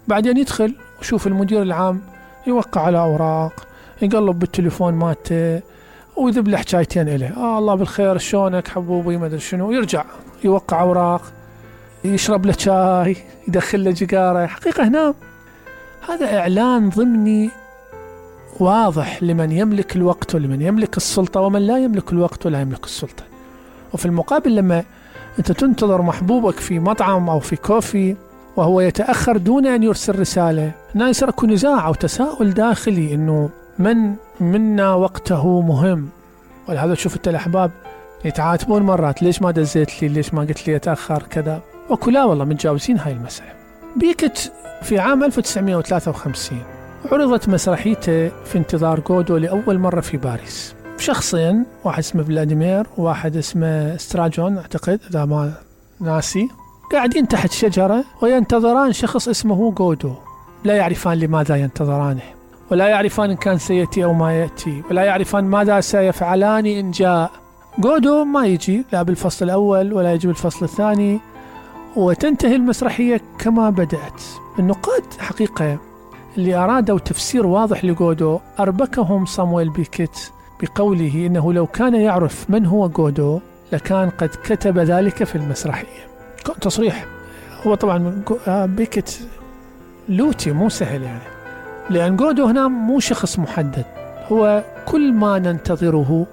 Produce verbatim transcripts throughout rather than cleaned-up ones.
بعدين يدخل وشوف المدير العام يوقع على أوراق، يقلب بالتليفون مالته ويذب له حكايتين إليه، آه الله بالخير شلونك حبوبي ما أدري شنو، يرجع يوقع أوراق، يشرب له شاي، يدخل له جيجارة. حقيقة هنا هذا إعلان ضمني واضح لمن يملك الوقت ولمن يملك السلطة ومن لا يملك الوقت ولا يملك السلطة. وفي المقابل لما أنت تنتظر محبوبك في مطعم أو في كوفي وهو يتأخر دون أن يرسل رسالة، هنا يصير اكو نزاع أو تساؤل داخلي إنه من منا وقته مهم. ولهذا تشوف أنت الأحباب يتعاتبون مرات، ليش ما دزيت لي، ليش ما قلت لي أتأخر كذا، وكلا والله متجاوزين هاي المسألة. بيكت في عام ألف وتسعمائة وثلاثة وخمسين عرضت مسرحيته في انتظار غودو لأول مرة في باريس. شخصين، واحد اسمه فلاديمير وواحد اسمه ستراجون أعتقد إذا ما ناسي، قاعدين تحت شجرة وينتظران شخص اسمه غودو، لا يعرفان لماذا ينتظرانه، ولا يعرفان إن كان سيأتي أو ما يأتي، ولا يعرفان ماذا سيفعلان إن جاء. غودو ما يجي لا بالفصل الأول ولا يجي بالفصل الثاني، وتنتهي المسرحية كما بدأت. النقاد حقيقة اللي أرادوا تفسير واضح لغودو أربكهم صامويل بيكت بقوله إنه لو كان يعرف من هو غودو لكان قد كتب ذلك في المسرحية. تصريح. هو طبعا بيكت لوتي مو سهل يعني، لأن غودو هنا مو شخص محدد، هو كل ما ننتظره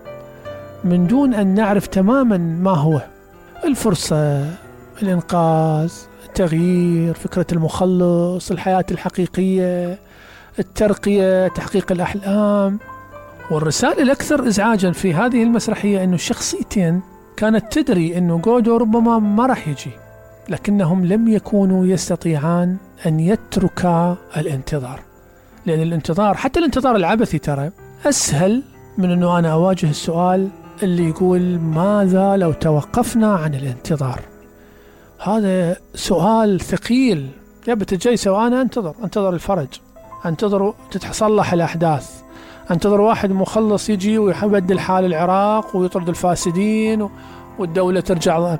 من دون أن نعرف تماما ما هو. الفرصة، الإنقاذ، التغيير، فكرة المخلص، الحياة الحقيقية، الترقية، تحقيق الأحلام. والرسالة الأكثر إزعاجا في هذه المسرحية أنه الشخصيتين كانت تدري أنه غودو ربما ما راح يجي، لكنهم لم يكونوا يستطيعان أن يتركا الانتظار، لأن الانتظار حتى الانتظار العبثي ترى أسهل من أنه أنا أواجه السؤال اللي يقول ماذا لو توقفنا عن الانتظار. هذا سؤال ثقيل. يبت الجيسة وأنا أنتظر أنتظر الفرج، أنتظر تتصلح الأحداث، أنتظر واحد مخلص يجي ويبدل حال العراق ويطرد الفاسدين والدولة ترجع.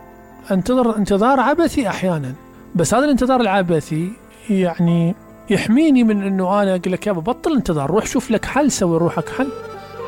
انتظر انتظار عبثي أحيانا، بس هذا الانتظار العبثي يعني يحميني من أنه أنا أقول لك يابا بطل انتظار، روح شوف لك حل، سوي روحك حل.